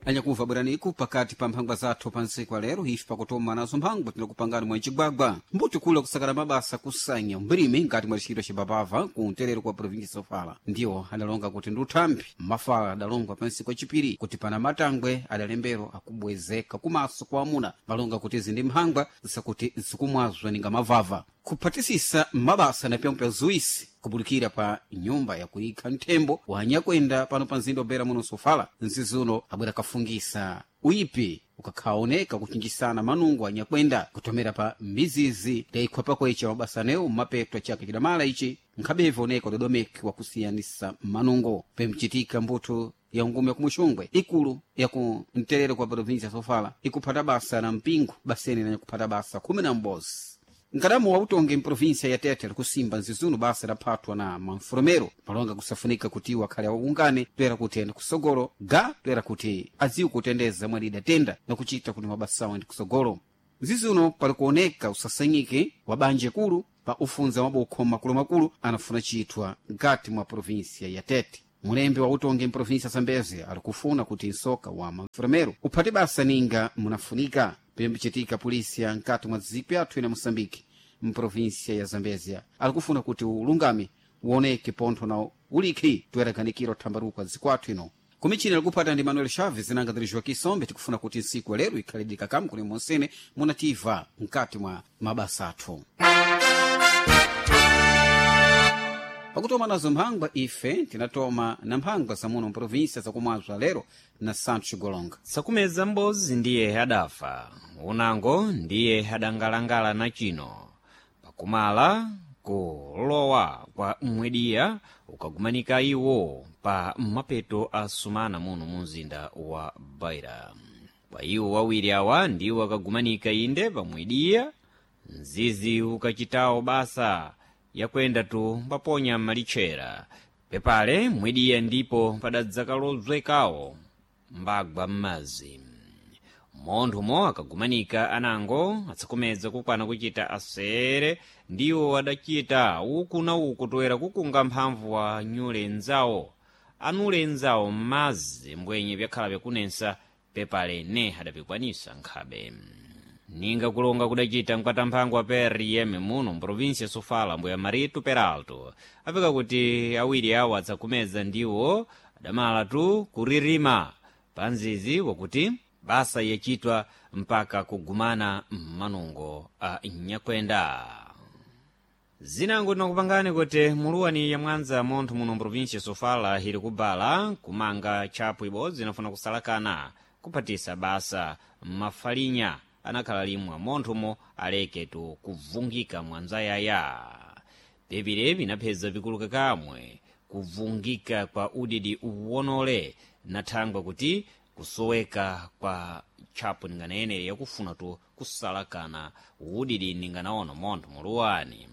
Anyakumva bweraniku pakati pa mphangwa zathu pa ntsiku wa lero ife pakutoma nazo mphangwa tinakupangani mwa mcigwagwa mbuti kula kusakala mabasa kusanya mbirimi ngati mwa ntchito cibapava ku mterero kwa provinsi sofala ndiwo adalonga kuti ndi uthambi mafala adalongwa pa ntsiku yacipiri kuti pana matangwe adalembero akubwezeka kumaso kwa amuna malonga kuti izi ndi mphangwa zakuti zikumwazwa ninga mavava kuphatisisa mabasa na pyomwe pya zuisi kubulikira pa nyumba yakuyikha nthembo wanyakwenda pano pa mzinda obera muno sofala nzizuno abwera kafungisa uyipi ukakhaoneka kuchinjisana manungo anyakwenda kutomera pa mizizi ndaikhwa pakwecha mabasa anewo mmapeto chaka chidamala ichi nkhabevu oneka udodomeki wakusiyanisa manungo pemchitika mbuthu ya ngumi yakumuxungwe ikulu yaku mterero kwa provinsia ya sofala ikuphata basa na mpingo basene nanyakuphata basa 11 nkadamu wa utongi mprovinsia ya tete likusimba nzizuno basa idaphatwa na manfurumero malonga kusafunika kuti iwo akhale awungane toera kuti ende kusogolo ga toera kuti adziwe kutendeza mwene idatenda na kuchita kuti mabasawo ende kusogolo nzizuno pali kuoneka usasanyike wa banja kulu pa ufunza mabokho makulumakulu anafuna chithwa mkati mwa provinsia ya tete mulembe wa utongi mprovinsia ya zambeze ali kufuna kuti nsoka wa manfurumero uphate basa ninga munafunika pembichitika polisi ya nkati mwa dziko yathu ina moçambique mprovinsia ya zambezia alikufuna kuti ulungame uoneke pontho na ulikhi toyeraganikira uthambaruka dziko athu ino kumichini alikuphata ndi manuel chaves nanga diri joaquim sombe tikufuna kuti ntsiku ya lero ikhale dikakamu kuli monsene munativa mkati mwa mabasa athu pakutoma nazo mphangwa ife tinatoma na mphangwa zamuno mprovinsia zakumwazwa lero na santos golonga Sakumeza m'bozi ndiye adafa, unango ndiye adangalangala na chino. Pakumala kulowa kwa mwediya ukagumanika iwo pa mapeto a sumana muno mu mzinda wa Beira. Kwa iwo wawiri awa ndiwo akagumanika inde pamwediya, mzizi ukachitawo basa yakwenda tu paponya malichera. Pepale mwediya ndipo padadzakalozwekawo mbagwa m'madzi monthumo akagumanika anango atsakomedza kukwana kuchita asere ndiwo adachita uku na uku toera kukunga mphamvu wa nyule nzawo anule nzawo m'madzi mbwenye byakhala byakunensa pepale ne adapikwanisa nkhabe ninga kulonga kudachita mkatamphangwa wa prm muno mprovinsia ya sofala mbuya marito peralto apeka kuti awiri awo atsakumeza ndiwo adamala tu kuririma panzizi wakuti basa yachitwa mpaka kugumana m'manungo a nyakwenda zinango tinakupangani kuti muluwani ya mwanza montho muno mprovinsia sofala ili kubala kumanga tchapu ibodzi inafuna kusalakana kuphatisa basa mafalinya anakhala limwe monthomo aleke tu kuvungika mwanzayaya pepire pinapheza pikuluka kamwe kuvungika kwa udidi uwonole na thangwa kuti kusoweka kwa tchapu ninganayenere yakufuna tu kusalakana udidi ninganaona montho muluwani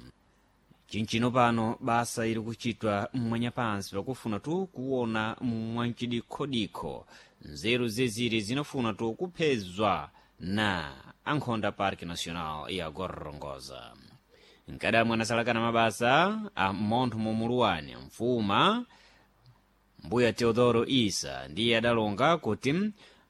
chinchino pano basa ili kuchitwa mwanyapansi pakufuna tu kuona mwanchidikhodikho nzeru zeziri zinafuna tu kuphezwa na ankhonda park national ya gorongoza nkadamwe anasalakana mabasa a montho mumuluwani mfuma mbuya teodoro isa ndiye adalonga kuti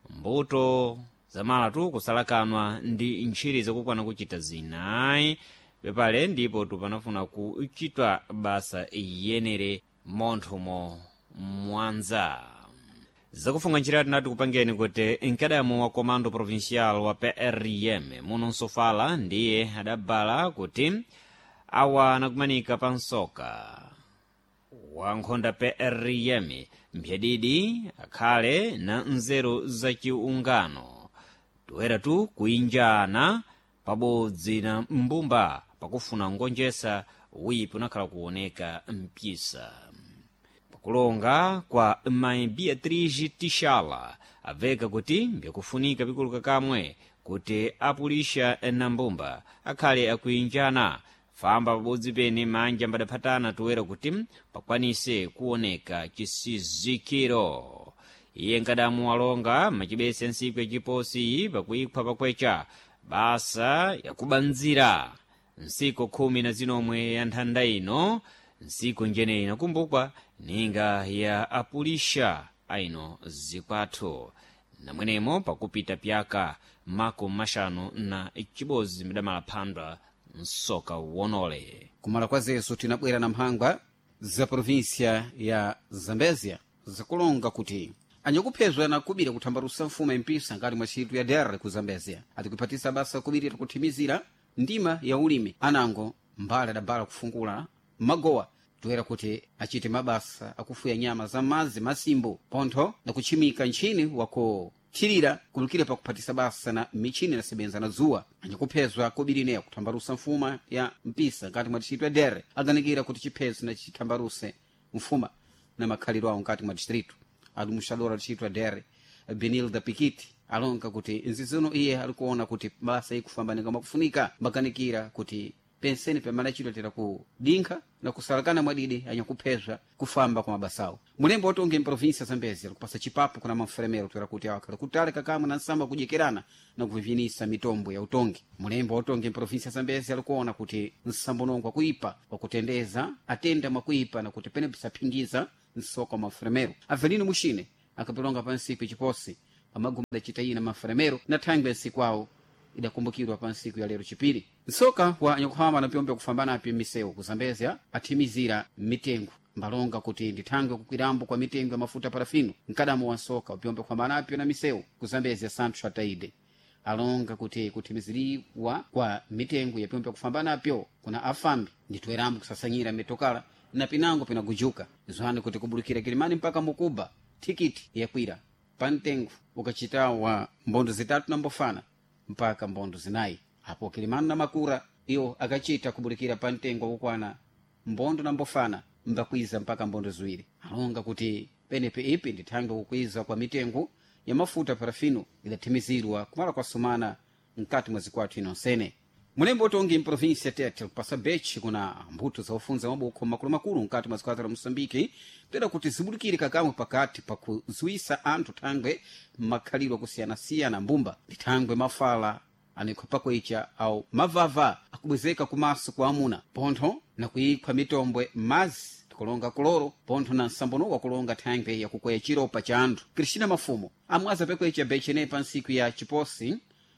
mbuto zamala tu kusalakanwa ndi ntchiri zakukwana kuchita zinayi pepale ndipo tupanafuna kuchitwa basa yenere monthomo mwanza zakufunga njira tinati kupangeni kuti mkadamu wa comando provincial wa prm muno nsofala ndiye adabala kuti awa anakumanika pa nsoka wankhonda prm mphyadidi akhale na nzeru zachiungano toera tu kuinjana pabodzi na mbumba pakufuna ngonjesa wipi unakhala kuoneka mpyisa pakulonga kwa mayi beatrice tishala abveka kuti mbyakufunika pikuluka kamwe kuti apulisha na mbumba akhale akuinjana famba pabodzi pene manja mbadaphatana toera kuti pakwanise kuoneka chisizikiro iye nkadamu alonga machibese nsiku yachiposi pakuikhwa pakwecha basa yakubanzira nsiku khumi na zinomwe ya nthanda ino nsiku njeneyi inakumbukwa ninga ya apulisha aino zikwathu. Namwenemo pakupita pyaka 51 midamala msoka wonole. Kumala kwa zesu tinabwera na mphangwa za provinsia ya Zambezia zakulonga kuti anyakuphezwa na kubira kuthambalusa mfumu empisa ngati mwa ntchito ya dr ku Zambezia atikuphatisa basa kubirira kuthimizira ndima ya ulimi anango mbale adabala kufungula magowa toera kuti achite mabasa akufuya nyama za madzi masimbo pontho na kutchimika ntchini wakuthirira kulukira pakuphatisa basa na michini inasebenza na dzuwa. Anyakuphezwa kobirineya kuthambalusa mfuma ya mpisa ngati mwa distrito ya dere aganikira kuti chiphezo na chithambaluse mfuma na makhalidwe awo nkati mwa distrito. Adumuxadora distrito ya dere Benilda Pikiti alonga kuti nzizino iye alikuona kuti basa ikufambanika mwakufunika mbaganikira kuti penseni pamene achitotera ku dinkha na kusalakana mwadidi anyakuphezwa kufamba kwa mabasawo. Mulembo watonge mprovinsia Zambezi alikupasa chipapo kuna mamfuremero toera kuti awakhala kutali kakamwe na nsamba kudyekерana na kuvivinisa mitombo ya utongi. Mulembo watonge mprovinsia Zambezi alikuona kuti nsambonongo akuipa wakutendeza atenda mwakuipa na kuti pene pisaphingiza msoka wa mafuremero. Avelino Muxine akapilonga pansiku ichiposi pamaguma adacita ina mafuremero na thangwe nsiku awo idakumbukirwa pa nsiku ya lero chipiri. Nsoka wa anyakuhama na pyombe kufambanapi m'misewu ku Zambezia athimizira mitengo mbalonga kuti ndithangwe kukwirambo kwa mitengo ya mafuta parafino. Mkadamo wa nsoka upyombe kufambanapyo na misewu ku Zambezia Santos Ataide alonga kuti kuthimiziriwa kwa mitengo ya pyombe kufambanapyo kuna afambi nditoerambo kusasanyira mitokala na pinango pinagujuka zwani kuti kubulukira Kilimani mpaka Mukuba thikiti yakwira pa mtengo ukachita wa mbondo 3 na mbofana mpaka mbondo 4. Apo Kilimani na Makura iwo akachita kubulikira pa mtengo wakukwana mbondo na mbofana mbakwiza mpaka mbondo 2. Alonga kuti penepe ipi ndithangwe kukwiza kwa mitengo ya mafuta parafino idathimizirwa kumala kwa sumana mkati mwa zikwathu inonsene. Mulembo utongi mprovinsia Tete kupasa bechi kuna mbuto za ufunza mabukho makulumakulu mkati mwa zikwathu la Moçambique toera kuti zibulikire kakamwe pakati pakuzuwisa anthu thangwe makhalidwe akusiyana-siyana mbumba ndi thangwe mafala anikhwa pakwecha au mavava akubwezeka kumaso kwa amuna pontho na kuikhwa mitombwe mazi tikulonga kuloro pontho na nsambono wakulonga thangwe yakukweya chiropa cha anthu. Cristina Mafumo amwaza pekwecha bechi pa nsiku ya chiposi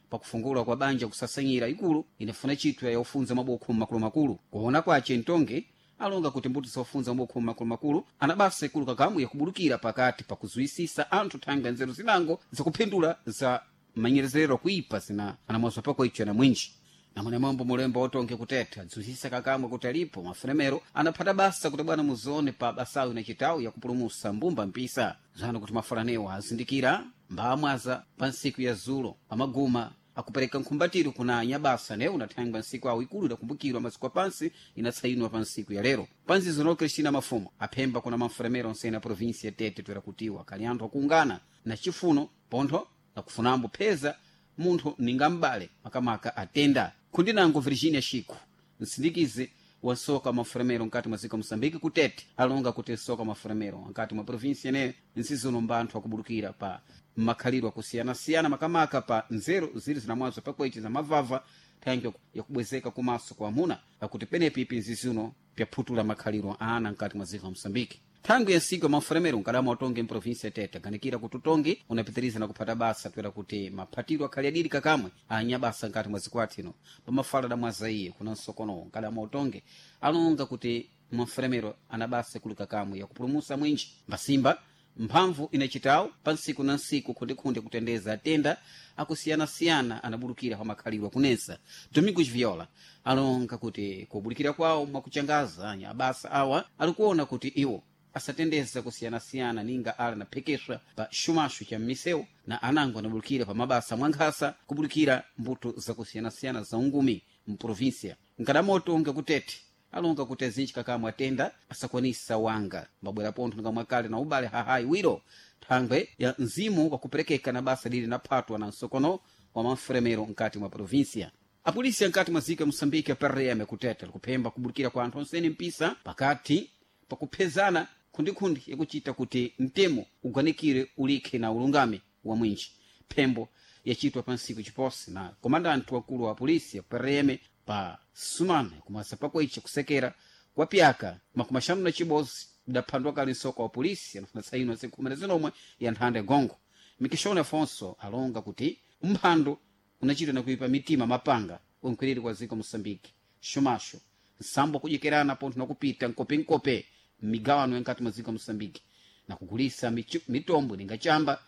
pakufungula kwa banja kusasanyira ikulu inafuna chitwa ya ufunza mabukho makulumakulu. Kuona kwace mtonge alonga kuti mbuto zofunza mabukho makulumakulu anabasa ikulu kakamu yakubulukira pakati pakuzuwisisa anthu thangwe nzeru zinango zakuphindula za manyerezerero kuipa zina anamwazwa pako icho na mwinji. Namwene mambo mulembo otonge kuteta dzuzisa kakamwe kuti alipo mafuremero anaphata basa kuti bwana muzone pa basawu inachitawu yakupulumusa mbumba mpisa zano kuti mafulanewa azindikira mbamwaza pa nsiku ya zulo pamaguma akupereka nkhumbatiro kuna anyabasa newu nathangwa nsiku awo ikulu idakumbukirwa masiku apansi inatsayinwa pa nsiku ya lero. Panzizono Cristina Mafumo aphemba kuna mafuremero onsene a provinsia Tete toera kutiwa kali anthu akuungana na chifuno pontho nakufunambo pheza munthu ninga m'bale makamaka atenda. Khundinango Virginia Chico msindikizi wa nsoka mafuremero nkati mwa dziko Moçambique kutete alonga kuti nsoka mafuremero nkati mwa provinsia ineyo nsizono mbanthu akubulukira pa makhalidwe akusiyana-siyana makamaka pa nzeru zili zinamwazo pakwechi za mavava thangwe yakubwezeka kumaso kwa amuna akuti penepi ipi nzizino pyaphutula makhalidwe ana nkati mwa dziko la Moçambique. Thangwi ya nsiku ya mafuremero nkadama utongi mprovinsia Tete aganikira kuti utongi unapitiriza na kuphata basa toera kuti maphatiro akhali adiri kakamwe anyabasa nkati mwa zikwati ino pamafala damwaza iye kuna nsokonowo nkadama utongi alonga kuti mafuremero anabasa ikulu kakamwe yakupulumusa mwinji mbasimba mphamvu inachitawo pa nsiku na nsiku khundikhunde kutendeza atenda akusiyana-siyana anabulukira pa makhalidwe akunesa. Domingos Viola alonga kuti kubulikira kwawo mwakuchangaza anya abasa awa alikuona kuti iwo asatendeza kusiyana-siyana ninga ala naphekeswa pa xumaxo cha m'misewu na anango anabulukira pa mabasa mwankhasa kubulikira mbuto zakusiyana-siyana za ungumi mprovinsia. Nkadamoto unga kutete alonga kuti azinji kakamwe atenda asakwanisa wanga mbabwera pontho ningamwakale na ubale hahayi wiro thangwe ya mzimu wakuperekeka na basa lili naphatwa na nsokono wa mafuremero nkati mwa provinsia. Apolisi ankati mwa ziko ya Moçambique a PRM kutete likuphemba kubulikira kwa anthu onsene mpisa pakati pakuphezana khundikhundi yakuchita kuti mtemo uganikire ulikhe na ulungame wa mwinji. Phembo yachitwa pa nsiku chiposi na komandanti wakulu wa polisi ya PRM pa sumana kumasa pakoicha kusekera kwa pyaka 51 idaphandwa kale nsoko wa polisi anafuna tsaino nsiku 19 ya nthanda gongo. Mikishoni Afonso alonga kuti umphando unachitwa na kuipa mitima mapanga unkhwiriri kwa ziko Moçambique xumaxo nsambo kudyekirana pontho nakupita nkopenkope m'migawano yankati mwa ziko Moçambique na kugulisa mitombo ningachamba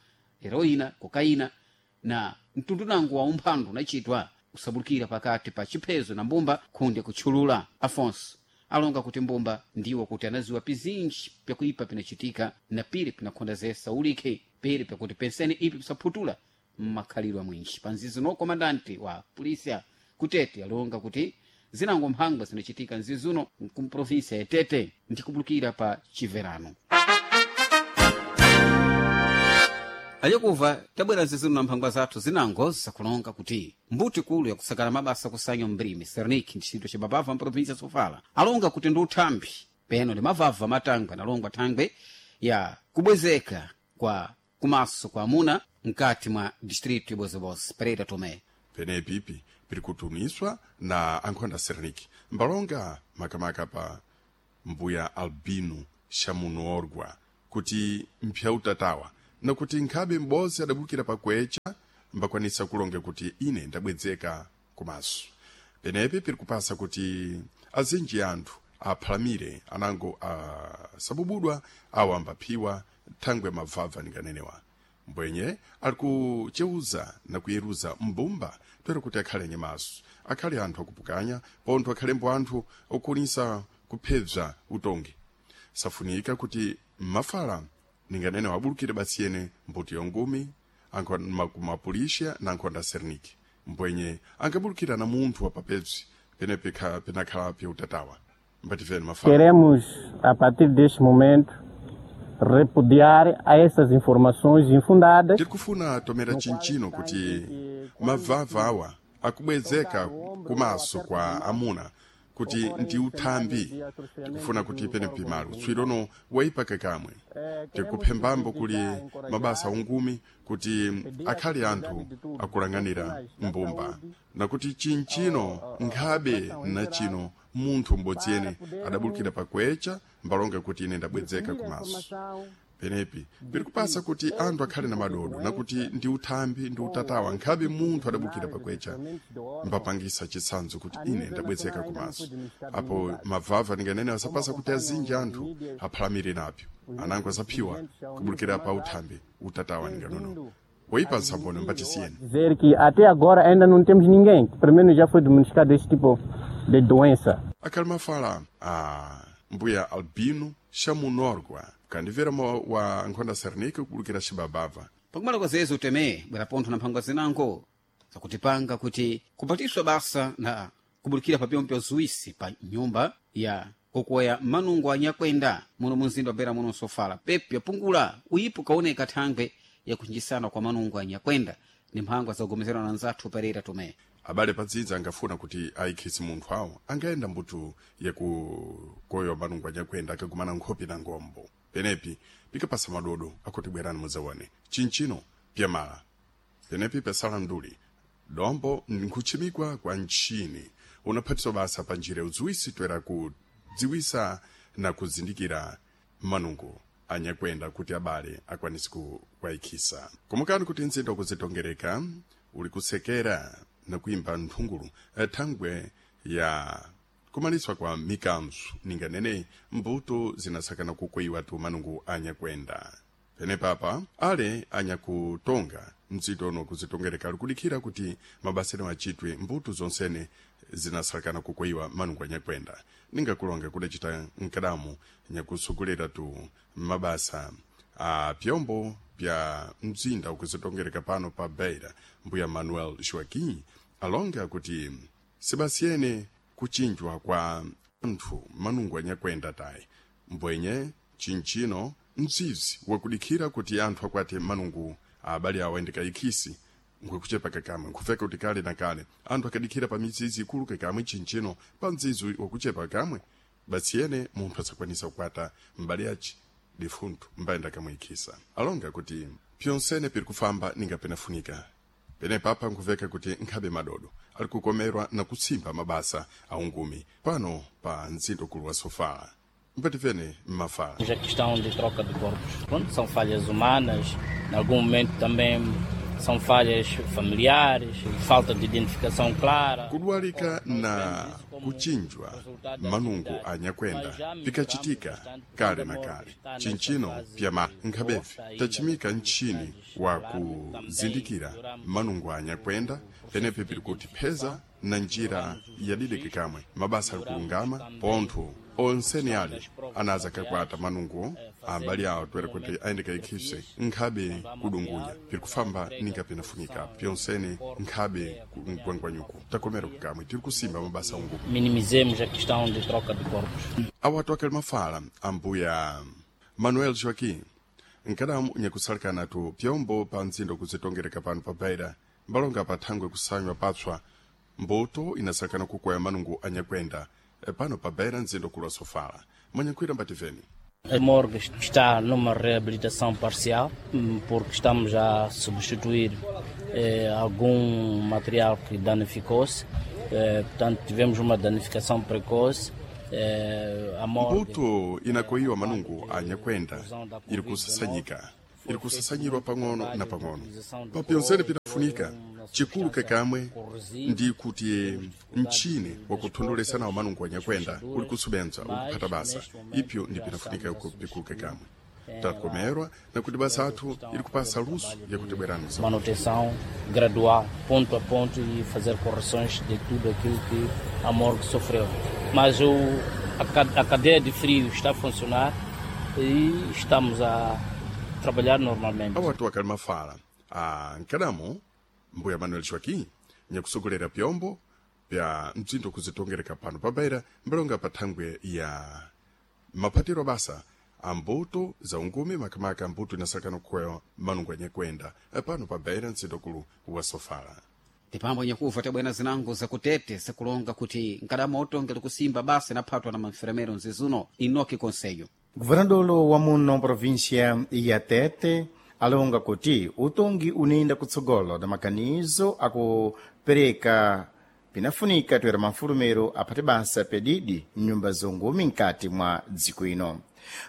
heroína kokaina na mtundu nango wa umphando unachitwa usabulukira pakati pa chiphezo na mbumba khunde kutchulula. Afonso alonga kuti mbumba ndiwo kuti anaziwa pizinji pyakuipa pinachitika na pili pinakhondazesa ulikhe pili pyakuti pensene ipi pisaphutula mmakhalidwe amwinji. Panzizi no komandante wa polisia kutete alonga kuti zinango mphangwa zinachitika nzizuno kumprovinsia ya Tete ndikubulukira pa chiverano. Alikuva tabwera zizino na mphangwa zathu zinango zakulonga kuti mbuti kulu yakusakala mabasa kusanya mbrimi Sernik ntchito cibabava mprovinsia Sofala alonga kuti ndi uthambi peno ndi mavava matangwe analongwa thangwe ya kubwezeka kwa kumaso kwa amuna mkati mwa distrito ibozebozi. Pereira Tomé penepipi piri kutumiswa na ankhonda Sernik mbalonga makamaka pa mbuya Albino Shamunorgwa kuti mpya utatawa nakuti nkhabe m'bodzi adabukira pakwecha mbakwanisa kulonga kuti ine ndabwedzeka kumaso. Penepi piri kupasa kuti azinji anthu aphalamire anango asabubudwa awo ambaphiwa thangwe mabvabva ninganenewa. Mbwenye ali kucheuza na kuyeruza mbumba toera kuti akhale nyamaso, akhale anthu akupukanya pontho akhalembo anthu okunisa kuphebza utongi. Safunika kuti mmafala ninganene wabulukire basi yene mbuti yongumi mapulisha na nkhonda Serniki mbwenye angabulukira na munthu wapapebzi penepe penakhala pyeutatawa mbativeni mafala. Queremos, a partir deste momento, repudiar a essas informações infundadas. Tiri kufuna tomera chinchino kuti mavava awa akubwezeka kumaso kwa amuna kuti ndi uthambi. Tikufuna kuti penepi malo tswirono waipaka kamwe. Tikuphembambo kuli mabasa ungumi kuti akhale anthu akulang'anira mbumba nakuti chinchino nkhabe na chino munthu m'bodzi yene adabulukira pakwecha mbalonga kuti ine ndabwedzeka kumaso. Penepi piri kupasa kuti anthu akhale na madodo nakuti ndi uthambi ndi utatawa nkhabe munthu adabukira pakwecha mbapangisa chitsanzo kuti ine ndabwezeka kumaso. Apo mavava ninganene asapasa kuti azinji anthu aphalamire napyo anango asaphiwa kubulukira pa uthambi utatawa ninganono woipa nsambono mbatisiyeni. Dizer que até agora ainda não temos ninguém que pelo menos já foi diagnosticado este tipo de doença. Akhali mafala a mbuya Albino Shamunorgwa kandimvera wa nkhonda Sernik kubulukira xibabava. Pakumala kwa zezo uteme bwera pontho na mphangwa zinango zakutipanga kuti kupatiswa basa na kubulukira pa pyompo zuwisi pa nyumba ya kokoya manungo anyakwenda muno munzinda wa Beira muno Sofala pepi yapungula uyipo kaoneka thangwe yakunchisana kwa manungo anyakwenda ni mphangwa zakugomezerana na nzathu Pereira Tomé. Abale padzidzi angafuna kuti ayikhisi munthu awo angayenda mbuto yakukoyowa manungo anyakwenda akagumana nkhope na ngombo. Penepi pikapasa madodo akuti bwerani mudzaone chinchino pyamala. Penepi pesala mduli dombo nkutchimikwa kwa ntchini unaphatiswa basa pa njira udziwisi toera kudziwisa na kuzindikira manungo anyakwenda kuti abale akwanise kuwayikhisa. Komukani kuti mzinda wakuzitongereka uli kusekera na kuimba nthungulu thangwe ya kumaliswa kwa mikanzu ninganene mbuto zinasakana kukoyiwa tu manungu anyakwenda. Penepapa ale anyakutonga mdzitono kuzitongereka ali kudikhira kuti mabasero achitwe mbuto zonsene zinasakana kukoyiwa manungu anyakwenda. Ningakulonga kudacita nkadamu nyakusogolera tu mabasa a pyombo pya mzinda ukuzitongereka pano pa Beira mbuya Manuel Joaquim alonga kuti sibasiyene kuchinjwa kwa anthu manungu anyakwenda tayi mbwenye chinchino mzizi wakudikhira kuti anthu akwate manungu abale awo ayendeka ikhisi nkukuchepa kakamwe nkufeka kuti kale na kale anthu akadikhira pa mizizi ikulu kakamwe chinchino pa mzizi wakuchepa kamwe basiyene munthu asakwanisa kukwata mbale aci difunthu mbayenda kamwikhisa. Alonga kuti pyonsene piri kufamba ninga penafunika. Penepapa nkuveka kuti nkhabe madodo ali kukomerwa na kutsimba mabasa aungumi pano pa mzinda ukulu wa Sofala. Mpatifene mmafala. A questão de troca de corpos. Pronto, são falhas humanas, em algum momento também são falhas familiares, falta de identificação clara. Kudwalika na kuchinjwa manungu anyakwenda pikachitika kale na kale. Chinchino pyama nkhabevi tachimika ntchini wa kuzindikira manungu anyakwenda penepe pili kuti pheza na njira yadideke kamwe mabasa ali kulungama pontho onseni ali anaza kakwata manungu ambali awo toera kuti ayende kaikhise nkhabe kudungunya pili kufamba ninga pinafunika pyonsene nkhabe mgwangwanyuku takomera kukamwe tiri kusimba mabasa ungu. Minimizemos a questão de troca de corpos. Awatu akali mafala ambuya Manuel Joaquim nkadamu nyakusalikana-tu pyombo pa mtsindo kuzitongereka pano pa Beira mbalonga pa thangwe kusanywa papswa mbuto inasalikana kukwaya manungu anyakwenda pano pa Beira mtsindo kulwa sofala mwanyankhwira mbativeni. A morgue está numa reabilitação parcial, porque estamos a substituir algum material que danificou-se. Portanto, tivemos uma danificação precoce. A morgue. Mbuto inakoyiwa manungu anyakwenda iri kusasanyika iri kusasanyirwa pang'ono na pang'ono papyonsene pinafunika chikulu kekamwe ndi kuti mchini wakuthondolesa nawo manungu anyakwenda uli kusubenza uli kuphata basa ipyo ndi pinafunika pikulu kekamwe takomerwa nakuti basa athu ili kupasa luso yakuti bwerani. Manutenção gradual, ponto a ponto, e fazer correções de tudo aquilo que a morgue sofreu. Mas a cadeia de frio está a funcionar e estamos a trabalhar normalmente. Awatu akali mafala a nkadamo mbuya Manuel Joaquim nyakusogolera pyombo pya mtsindo kuzitongereka pano pa Beira mbalonga pa thangwe ya maphatiro basa ambuto za ungumi makamaka ambuto inasakana kukwaya manungu anyakwenda pano pa Beira mtsindokulu wa Sofala. Tipambo nyakuva tabwena zinango zakutete zakulonga kuti nkadama otongela kusimba basa inaphatwa na manfermero nzizuno inoki konseyo. Governador wa muno província ya Tete alonga kuti utongi unenda kutsogolo na makanizo akupereka pinafunika toera mafulumero aphate basa pedidi mnyumba zongumi nkati mwa dziko ino.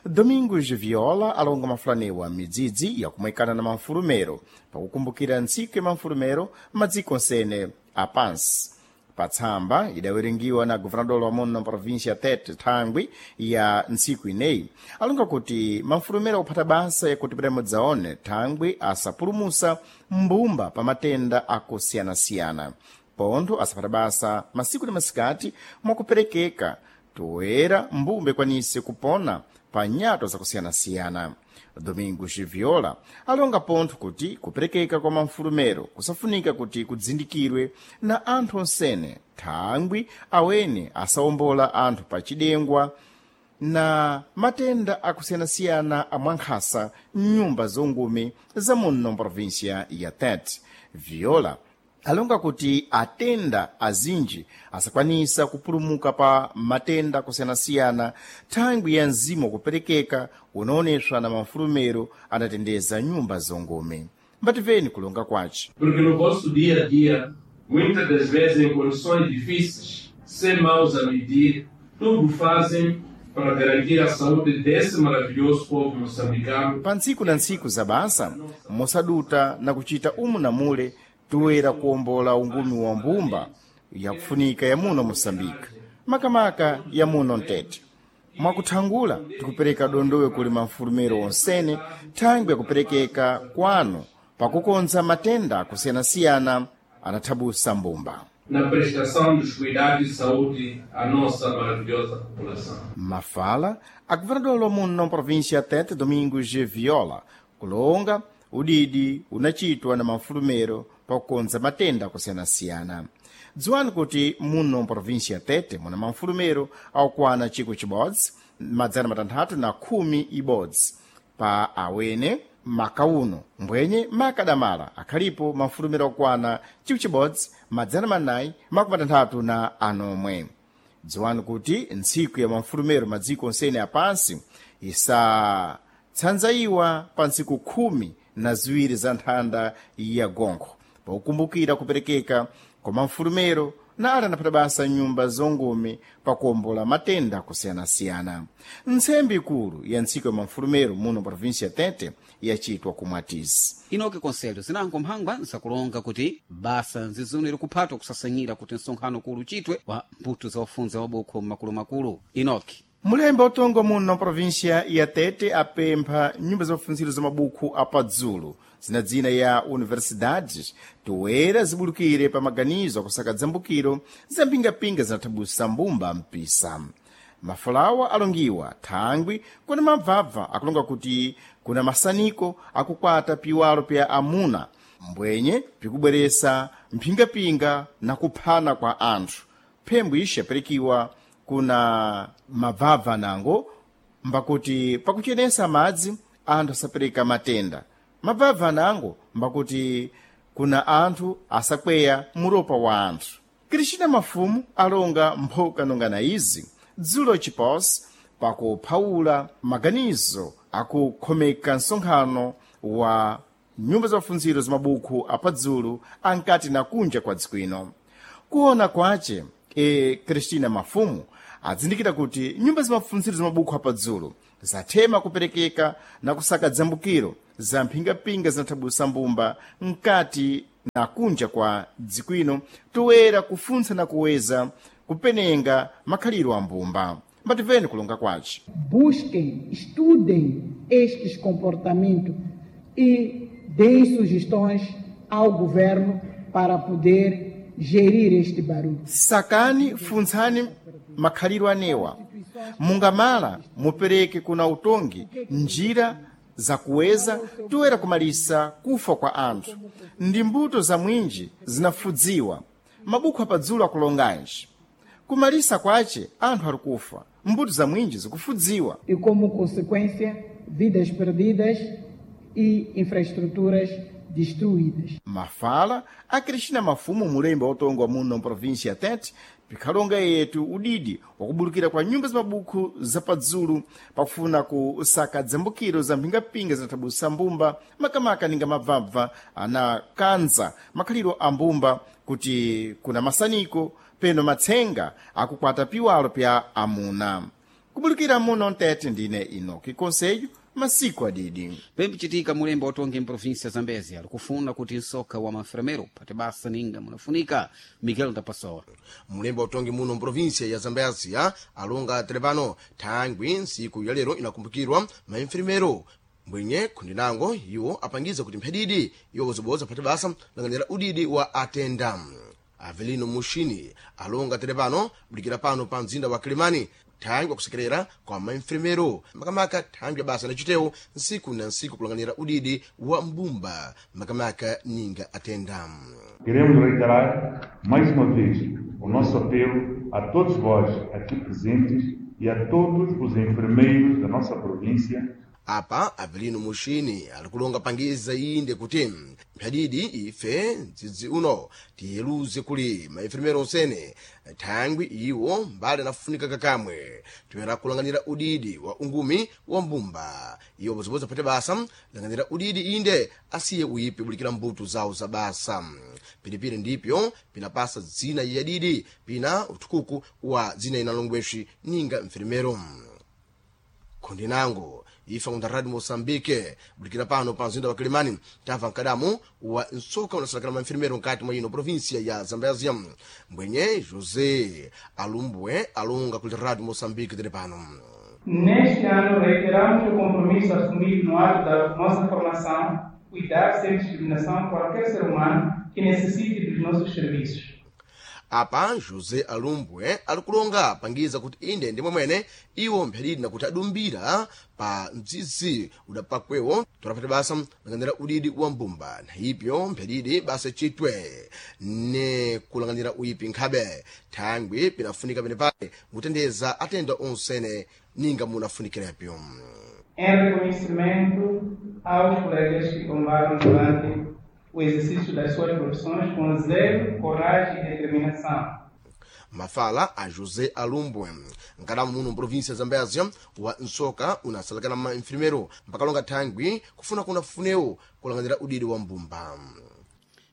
Domingos Viola alonga mafulanewa midzidzi yakumwekana na mafulumero pakukumbukira ntsiku ya mafulumero madziko onsene apansi. Patsamba idawerengiwa na governador wa muno província Tete thangwi ya ntsiku ineyi alonga kuti mafulumero akuphata basa yakuti padamodzaone thangwi asapulumusa mbumba pa matenda akusiyana-siyana pontho asaphata basa masiku na masikati mwakuperekeka toera mbumba ikwanise kupona pa nyato zakusiyana-siyana. Domingos Viola alonga pontho kuti kuperekeka kwa mafulumero kusafunika kuti kudzindikirwe na anthu onsene thangwi awene asawombola anthu pa chidengwa na matenda akusiyana-siyana amwankhasa mnyumba zongumi za muno província ya Tete. Viola alonga kuti atenda azinji asakwanisa kupulumuka pa matenda akusiyana-siyana thangwi ya mzimu wakuperekeka unaoneswa na mafulumero anatendeza nyumba zongome. Mbativeni kulonga kwace. Porque no vosso dia a dia, muitas das vezes em condições difíceis, sem mãos a medir, tudo fazem para garantir a saúde desse maravilhoso povo moçambicano. Pa ntsiku na ntsiku za basa mosaduta na kuchita umu na mule toera kuwombola ungumi wa mbumba yakufunika ya muno Moçambique, makamaka ya muno Mtete. Mwakuthangula tikupereka dondowe kuli mafulumero onsene thangwi yakuperekeka kwanu pakukonza matenda akusiyana-siyana anathabusa mbumba. Na prestação dos cuidados de saúde à nossa maravilhosa população. Mafala a governador wa muno província Tete Domingos Viola kulonga udidi unachitwa na mafulumero pakukonza matenda akusiyana-siyana. Dziwani kuti muno província Tete muna mafulumero akukwana 1,000 611 pa awene makauno mbwenye makadamala akhalipo mafulumero okwana 1,469. Dziwani kuti ntsiku ya mafulumero madziko onsene apansi isatsanzayiwa pa ntsiku 12 za nthanda ya gonkho pakukumbukira kuperekeka kwa mafulumero na ali anaphata basa nyumba zongumi pakuwombola matenda akusiyana-siyana. Ntsembe ikulu ya ntsiko ya mamfulumero muno província ya Tete yachitwa ku Mwatisi. Inoki konselho zinango mphangwa nzakulonga kuti basa nzizunire kuphatwa kusasanyira kuti msonkhano kulu uchitwe wa mbuto za ufunza wabukho makulumakulu. Inoki mulembe utongo muno província ya Tete apempha nyumba za mafunziro za mabukhu apadzulu zina dzina ya universidades toera zibulukire pa maganizo akusaka dzambukiro za mpingapinga zinathabusa mbumba mpisa. Mafulawa alongiwa thangwi kuna mabvabva akulonga kuti kuna masaniko akukwata piwalo pya amuna mbwenye pikubweresa mphingapinga na kuphana kwa anthu. Phembo ixi yapirikiwa kuna mabvabva nango mbakuti pakuchenesa madzi anthu asapereka matenda. Mabvabva nango mbakuti kuna anthu asakweya muropa wa anthu. Cristina Mafumu alonga mphoka nongana izi dzulo chiposi pakuphawula maganizo akukhomeka msonkhano wa nyumba za mafunziro za mabukhu apadzulu ankati na kunja kwa dziko ino. Kuona kwace Cristina Mafumu adzindikira kuti nyumba za mafunziro za mabukhu apadzulu zathema kuperekeka na kusaka dzambukiro za mphingapinga zinathabusa mbumba mkati na kunja kwa dziko ino toera kufuntsa na kuweza kupenenga makhaliro a mbumba. Mbativeni kulonga kwace. Busquem, estudem estes comportamentos e deem sugestões ao governo para poder gerir este barulho. Sakani funtsani makhaliro anewa mungamala mupereke kuna utongi njira zakuweza toera kumalisa kufa kwa anthu ndi mbuto za mwinji zinafudziwa. Mabukhu apadzulu akulonganji kumalisa kwace anthu ari kufa, mbuto za mwinji zikufudziwa. E como consequência, vidas perdidas e infraestruturas destruídas. Mafala a Cristina Mafumu, mulembe wa utongo wa muno mprovíncia ya Tete, pikhalonga yetu udidi wakubulukira kwa nyumba za mabukhu zapadzulu pakufuna kusaka dzambukiro za mphingapinga zinathabusa mbumba makamaka ninga mabvabva anakanza makhaliro a mbumba kuti kuna masaniko peno matsenga akukwata piwalo pya amuna. Kubulukira muno Mtete ndine Inoki Konselho, masiku adidi. Pembichitika mulembe watonge mprovinsia ya Zambezi ali kufuna kuti msoka wa mafremero pate basa ninga munafunika. Miguel Ndapasowa. Mulembe utongi muno mprovinsia ya Zambezia alonga telepano thangwi ntsiku ya lero inakumbukirwa maenfermero mbwenye khundinango iwo apangiza kuti mphadidi iwo bozoboza phate basa langanira udidi wa atenda. Avelino Mushini alonga telepano bulikira pano pa mzinda wa Kilimani thangwi akusekerera kwa maenfermero makamaka thangwi basa na chitewo ntsiku na ntsiku kulanganira udidi wa mbumba makamaka ninga atenda. Queremos reiterar mais uma vez o nosso apelo a todos vós aqui presentes e a todos os enfermeiros da nossa província. Apa Avelino Mushini alikulonga pangiza inde kuti mphadidi ife mdzidzi uno tiyeluze kuli maenfermero onsene thangwi iwo mbali anafunika kakamwe toyera kulanganira udidi wa ungumi wa mbumba iwo bozoboza phate basa langanira udidi inde asiye uyipi bulikira mbuto zawo za basa. Pilipili ndipyo pinapasa dzina yadidi pina uthukuku wa dzina inalongwexi ninga mfermero. Khundinango ifa kunda Radio Moçambique bulikira pano pa mzinda wa Kilimani tamva mkadamu wa nsoka unasalakala maenfermero nkati mwa ino província ya Zambézia mbwenye José Alumbwe alonga kuli Radio Moçambique tili pano. Neste ano reiteramos o compromisso assumido no ato da nossa formação, cuidar sem discriminação qualquer ser humano que necessite dos nossos serviços. Apa José Alumbwe alikulonga pangiza kuti inde ndi mwemwene iwo mphadidi nakuti adumbira pa mdzidzi udapakwewo tolapata basa langanira udidi wa mbumba na ipyo mphadidi basa chitwe ne kulanganira uyipi nkhabe thangwi pinafunika penepale mutendeza atenda onsene ninga munafunikirapyo. Em reconhecimento aos colegas que tombaram durante o exercício das suas profissões com zelo, coragem e determinação. Mafala a José Alumbwe nkadamu muno mprovinsia ya Zambézia wa nsoka unasalakana ma enfermero mpakalonga thangwi kufuna kuna funewo kulanganira udidi wa mbumba.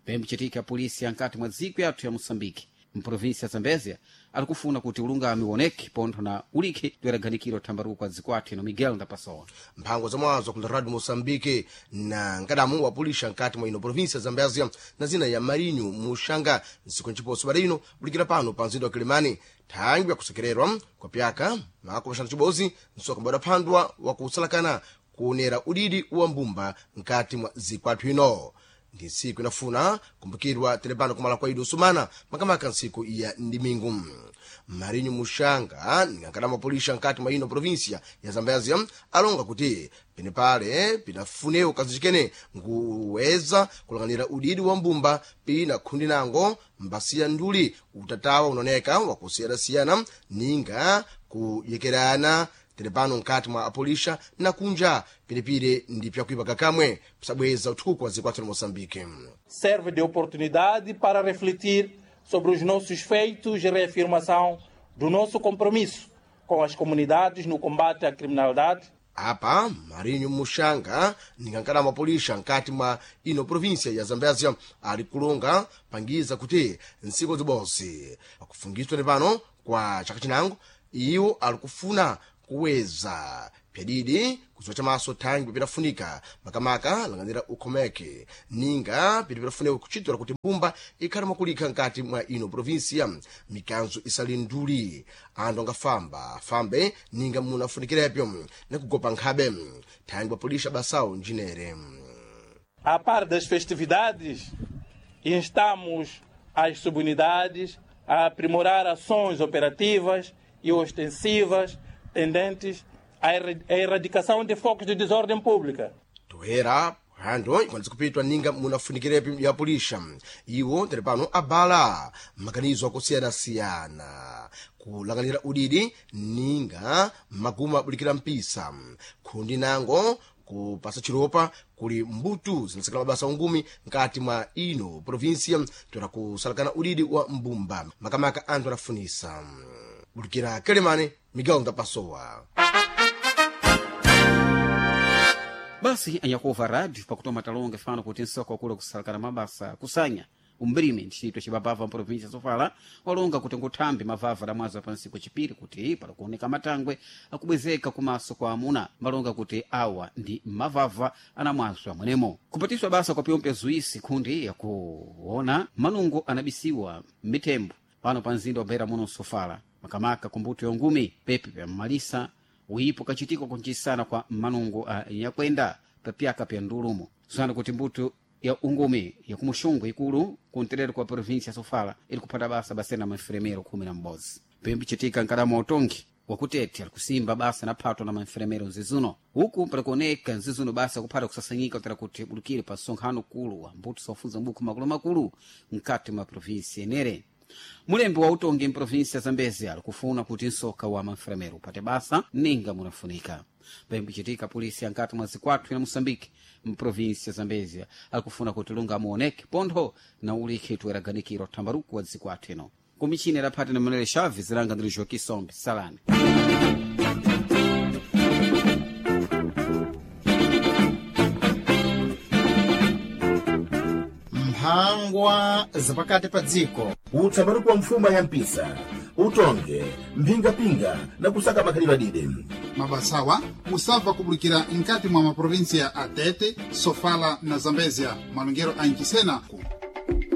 Pembichitika polisi ankati mwa dziko yathu ya Moçambique. Mprovinsi ya Zambezia alikufuna kuti ulungami uoneke pontho na ulikhe toyeraganikiro thambaruko kwa dzikwathu ino. Miguel Ndapasowa. Mphango zamwazo kula Radio Moçambique na nkadamu wa pulisha nkati mwa ino província ya Zambézia na zina ya Marinho Muxanga nsiku nciposo bada ino bulikira pano pa mzinda wa Kilimani thangwi yakusekererwa kwa pyaka mako maxanu cibozi nsoka mbadaphandwa wakusalakana kuonera udidi wa mbumba nkati mwa zikwathu ino. Ndi ntsiku inafuna kumbukirwa telepano kumala kwa ido sumana makamaka ntsiku ya ndimingu. Marinho Muxanga ningankadama mapolisha nkati mwa ino província ya Zambézia alonga kuti penepale pinafunewo kazicikene nkuweza kulang'anira udidi wa mbumba pina khundi nango mbasiya nduli utatawa unaoneka wakusiyanasiyana ninga kuyekerana telepano nkati mwa apolisha na kunja pilipili ndi pyakuipa kakamwe kusabweza uthuku wa zikwathu la Moçambique. Serve de oportunidade para refletir sobre os nossos feitos e reafirmação do nosso compromisso com as comunidades no combate à criminalidade. Apa Marinho Muxanga ningankala mapolisha nkati mwa ino província ya Zambézia ali kulonga pangiza kuti ntsiku zibodzi akufungiswa pano kwa chaka chinango iwo alikufuna kuweza pyadidi kuziwa chamaso thangwi pitafunika makamaka lang'anira ukhomeke ninga piti pitafunika kuchitira kuti mbumba ikhale mwakulikha nkati mwa ino província mikanzo isali nduli anthu angafamba fambe ninga munafunikirepo nakugopa nkhabe thangwi apolisha basawo njinere. A par das festividades, instamos as subunidades a aprimorar ações operativas e ostensivas tendentes à erradicação de focos de desordem pública. Toera hando ikwanisa kupitwa ninga munafunikirepo ya pulisha iwo tere pano abala maganizo akusiyanasiyana kulang'anira udidi ninga maguma abulikira mpisa khundi nango kupasa chilopa kuli mbutu zinasekela mabasa ungumi nkati mwa ino província toera kusalakana udidi wa mbumba makamaka anthu adafunisa bulikira Kelemane. Miguel Ndapasowa. Basi anyakuva rádio pakutoma talonga fano kuti nsoko wakula kusalakana mabasa kusanya umbrime ntchito cibabava mprovinsia sofala walonga kuti nguthambi mavava damwazo pansi kuchipiri kuti palakuoneka matangwe akubwezeka kumaso kwa amuna malonga kuti awa ndi mavava anamwazo amwenemo kupatiswa basa kwa pyompe zuisi khundi yakuona manungo anabisiwa m'mitembo pano pa mzinda wa Beira muno sofala makamaka kumbuto ya ngumi pepe pya mmalisa uipo kachitiko kunchisana kwa manungo a nyakwenda papyaka pya ndulumo zana kuti mbuto ya ungumi ya kumuxungu ikulu kunterero kwa província sofala ili kuphata basa basena manferemero 11 pembe chitika nkadama utongi wakutete alikusimba basa na phato na manferemero nzizuno uku palikuoneka nzizuno basa kuphata kusasanyika kutera kuti bulukire pa nsonkhano kulu wa mbuto sofunza mbuku makulumakulu mkati mwa província enere. Mulembi wa utongi mprovinsia ya Zambezia alikufuna kuti nsoka wa manferemero upate basa ninga munafunika pembichitika polisi ankati mwa zikwathu ya Moçambique mprovinsia ya Zambezia alikufuna kuti lunga muoneke pontho na ulikhi tuweraganikiro thambaruku wa zikwathu ino kumichini adaphati na Manuel Chaves zilanga ndili Joaquim Sombe salani. Mphangwa zapakati pa dziko. Utsambaruko wa mfuma ya mpisa utonge mphingapinga na kusaka makhalidwe adide. Mabasawa musabva kubulikira nkati mwa maprovinsia a Tete, Sofala na Zambezia malongero a Nchisena.